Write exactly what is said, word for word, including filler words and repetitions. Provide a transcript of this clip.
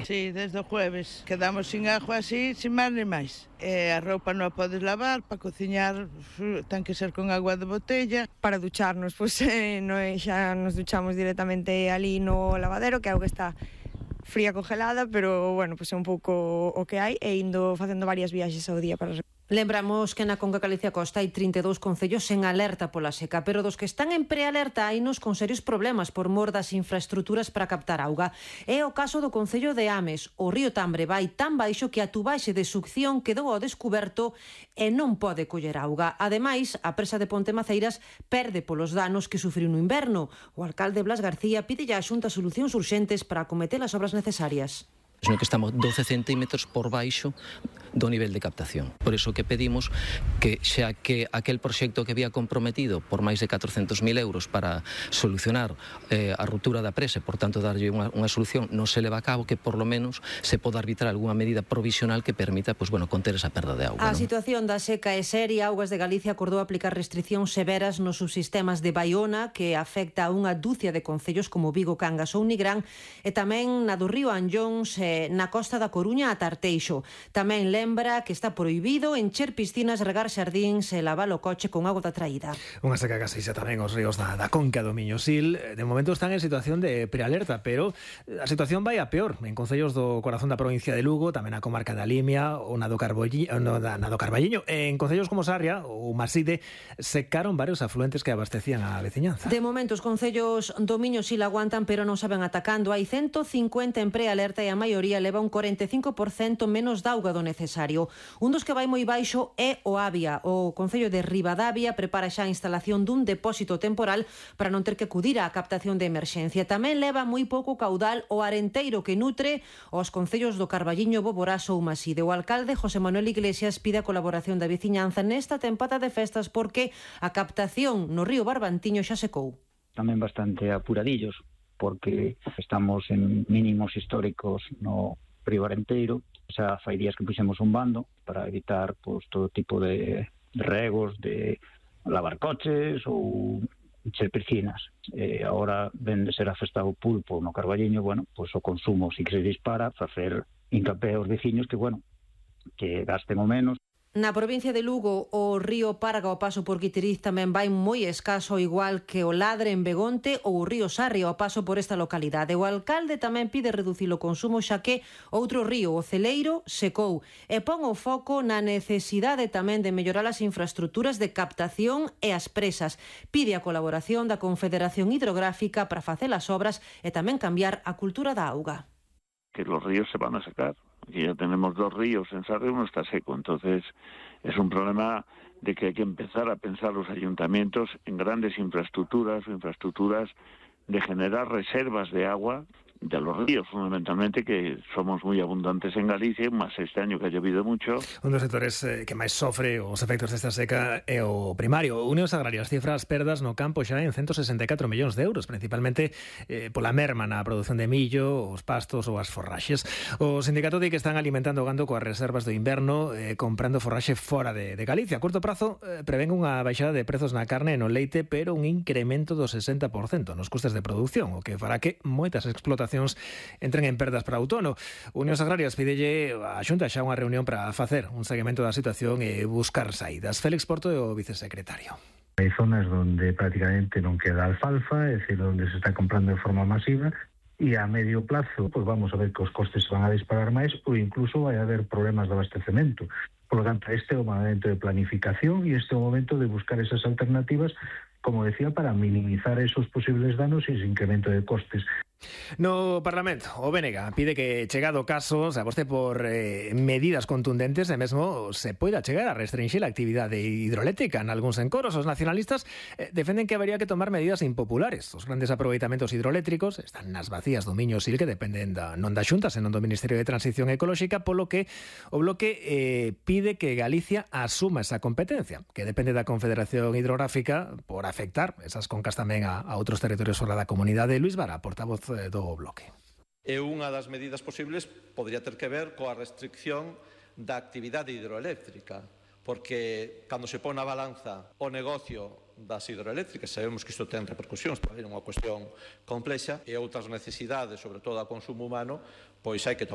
Sí, desde o jueves. Quedamos sin agua así, sin máis ni máis. E a roupa non a podes lavar, para cociñar ten que ser con agua de botella. Para ducharnos, pois eh, no, xa nos duchamos directamente ali no lavadero, que a auga está fría congelada, pero bueno, pois é un pouco o que hai, e indo facendo varias viaxes ao día para... Lembramos que na Conca Galicia Costa hai trinta e dous concellos en alerta pola seca, pero dos que están en prealerta hainos con serios problemas por mor das infraestruturas para captar auga. É o caso do concello de Ames. O río Tambre vai tan baixo que a tubaxe de succión quedou ao descuberto e non pode coller auga. Ademais, a presa de Ponte Maceiras perde polos danos que sufriu no inverno. O alcalde Blas García pide a Xunta solucións urxentes para acometer as obras necesarias. Sino que estamos doce centímetros por baixo do nivel de captación. Por iso que pedimos que xa que aquel proxecto que había comprometido por máis de catrocentos mil euros para solucionar eh, a ruptura da presa, por tanto darlle unha, unha solución, non se leva a cabo, que por lo menos se poda arbitrar algunha medida provisional que permita, pues, bueno, conter esa perda de auga. A ¿no? situación da seca é seria. Augas de Galicia acordou aplicar restriccións severas nos subsistemas de Baiona, que afecta a unha dúcia de concellos como Vigo, Cangas ou Nigrán, e tamén na do río Anllóns, eh, na costa da Coruña a Tarteixo. Tamén lembra que está prohibido encher piscinas, regar xardíns e lavar o coche con auga da traída. Unha seca que aseixa tamén os ríos da, da Conca do Miño-Sil. De momento están en situación de prealerta, pero a situación vai a peor en concellos do corazón da provincia de Lugo, tamén a comarca da Limia ou na do, Carbolli, no, da, na do Carballiño. En concellos como Sarria ou Maside secaron varios afluentes que abastecían a veciñanza. De momento os concellos do Miño-Sil aguantan, pero non saben atacando. Hai ciento cincuenta en prealerta e a maioría leva un cuarenta e cinco por cento menos de auga do necesario. Un dos que vai moi baixo é o Avia. O concello de Ribadavia prepara xa a instalación dun depósito temporal para non ter que acudir á captación de emerxencia. Tamén leva moi pouco caudal o Arenteiro, que nutre os concellos do Carballiño, Boborás ou Maside. O alcalde José Manuel Iglesias pide a colaboración da veciñanza nesta tempada de festas porque a captación no río Barbantiño xa secou. Tamén bastante apuradillos, porque estamos en mínimos históricos no río Arenteiro. Xa fai días que puxemos un bando para evitar, pues, todo tipo de regos, de lavar coches ou encher piscinas. E agora ven de ser afestado o pulpo no Carballiño, bueno, pues o consumo si que se dispara, facer hincapié aos veciños que, bueno, que gasten o menos. Na provincia de Lugo, o río Parga ao paso por Guiteriz tamén vai moi escaso, igual que o Ladre en Begonte ou o río Sarria ao paso por esta localidade. O alcalde tamén pide reducir o consumo, xa que outro río, o Celeiro, secou, e pon o foco na necesidade tamén de mellorar as infraestructuras de captación e as presas. Pide a colaboración da Confederación Hidrográfica para facer as obras e tamén cambiar a cultura da auga. Que los ríos se van a secar. Aquí ya tenemos dos ríos, en Sarria uno está seco, entonces es un problema de que hay que empezar a pensar los ayuntamientos en grandes infraestructuras o infraestructuras de generar reservas de agua de los ríos, fundamentalmente, que somos moi abundantes en Galicia, máis este año que ha llovido mucho. Un dos sectores eh, que máis sofre os efectos desta seca é o primario. Unións Agrarias cifra as perdas no campo xa en ciento sesenta e catro millóns de euros, principalmente eh, pola merma na produción de millo, os pastos ou as forraxes. O sindicato di que están alimentando o gando coas reservas do inverno, eh, comprando forraxe fora de, de Galicia. A curto prazo eh, prevén unha baixada de prezos na carne e no leite, pero un incremento do sesenta por cento nos custes de produción, o que fará que moitas explotacións entren en perdas para outono. Unións Agrarias pidelle a Xunta xa unha reunión para facer un seguimento da situación e buscar saídas. Félix Porto é o vicesecretario. Hai zonas donde prácticamente non queda alfalfa, é dicir, onde se está comprando de forma masiva, e a medio plazo, pues vamos a ver que os costes se van a disparar máis ou incluso vai haber problemas de abastecemento. Por lo tanto, este é o momento de planificación e este é o momento de buscar esas alternativas, como decía, para minimizar esos posibles danos e ese incremento de costes. No Parlamento, o B N G pide que, chegado o caso, se aposte por eh, medidas contundentes e mesmo se poida chegar a restringir a actividade hidroeléctrica. En algúns encoros, os nacionalistas eh, defenden que habería que tomar medidas impopulares. Os grandes aproveitamentos hidroeléctricos están nas vacías do Miño-Sil, que dependen da, non da Xunta, senón do Ministerio de Transición Ecolóxica, polo que o bloque eh, pide que Galicia asuma esa competencia, que depende da Confederación Hidrográfica, por afectar esas concas tamén a, a outros territorios fora da comunidade. Luís Vara, portavoz do bloque. E unha das medidas posibles podría ter que ver coa restricción da actividade hidroeléctrica, porque cando se pon na balanza o negocio das hidroeléctricas, sabemos que isto ten repercusións, é unha cuestión complexa, e outras necesidades, sobre todo a consumo humano, pois hai que tomar